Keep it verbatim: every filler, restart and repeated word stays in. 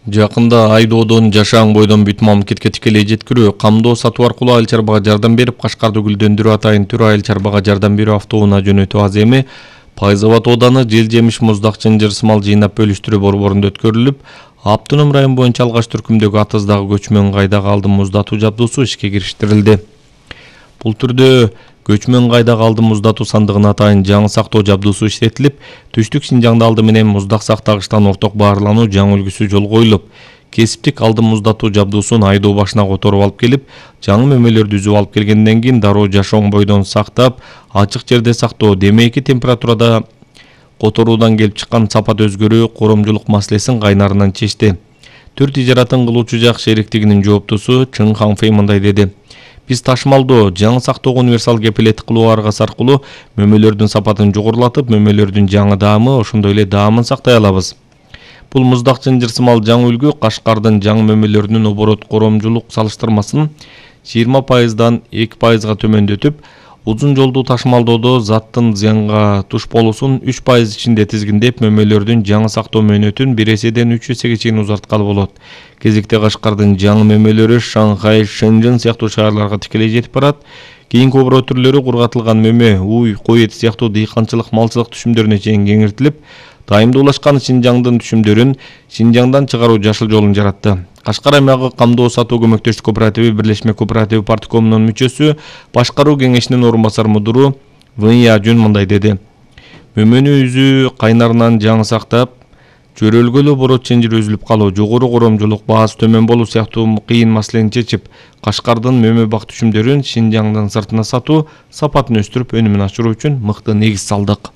Жакында Айдоодон Жашаң бойдон бүт мамлекетке тикелей жеткирүү, камдоо сатуу аркылуу айыл чарбага жардам берип, Кашкарды гүлдөндүрүү атайын түр айыл чарбага жардам берүү автоунаа жөнөтүү аз эми Пайзабад ооданы жел жемиш муздак чынжыр мал жыйнап бөлүштүрүү борборунда өткөрүлүп, Аптоном район боюнча алгач түркүмдөгү атыздагы көчмөн кайдага алдын муздатуу жабдуусу ишке кириштирилди. Бул түрдө көчмөн кайдага алдын муздатуу сандыгына атайын жаңы сактоо жабдуусу иштетилип, түштүк Синжаңда алды менен муздак сактагычтан орток баарлануу жаңы үлгүсү жолго коюлуп, кесиптик алдын муздатуу жабдуусун Айдоо башына которуп алып келип, жаңы мөмөлөрдү үзүп алып келгенден кийин дароо Жашоң бойдон сактап, ачык жерде сактоо, демейки температурада которуудан келип чыккан сапат өзгөрүү коромжулук маселесин кайнарынан чечти. Түр тижаратын кылуучу жак шериктигинин жооптусу Чың Ханфей мындай деди: Биз ташмалдоо, жаңы сактоого универсал кепилеттик кылуу аргасы аркылуу мөмөлөрдүн сапатын жогорулатып, мөмөлөрдүн жаңы даамы, ошондой эле даамын сактай алабыз. Бул муздак чынжыр жаңы үлгү Кашкардын жаңы мөмөлөрүнүн оборот коромжулук салыштырмасын жыйырма пайыздан эки пайызга төмөндөтүп, узун жолдуу ташмалдоодо заттын зыянга туш болуусун үч пайыз ичинде тизгиндеп, мөмөлөрдүн жаңы сактоо мөөнөтүн бир эседен үч эсеге чейин узарткалы болот. Кезекте Кашкардын жаңы мөмөлөрү Шанхай, Шэньчжэн сыяктуу шаарларга тикелей жетип барат. Кийинки оборот түрлөрү кургатылган мөмө, уй, кой эти сыяктуу дыйканчылык, малчылык түшүмдөрүнө чейин кеңейтилип, тайымдуулашкан Синжаңдын түшүмдөрүн Синжаңдан чыгаруу жашыл жолун жаратты. Кашкар аймагы камдоо сатуу көмөктөштүк кооперативи Бирлешме кооперативи парткомунун мүчөсү, башкаруу кеңешинин орун басар мудуру Вэнья Жун мындай деди: Мөмөнү үзүү кайнарынан жаңы сактап, жөрөлгөлө оборот чынжыр үзүлүп калуу, жогору коромжулук, баасы төмөн болуу сыяктуу кыйын маселени чечип, Кашкардын мөмө бак түшүмдөрүн Синжаңдын сыртына сатуу, сапатын өстүрүп, өнүмүн ашыруу үчүн мыкты негиз салдык.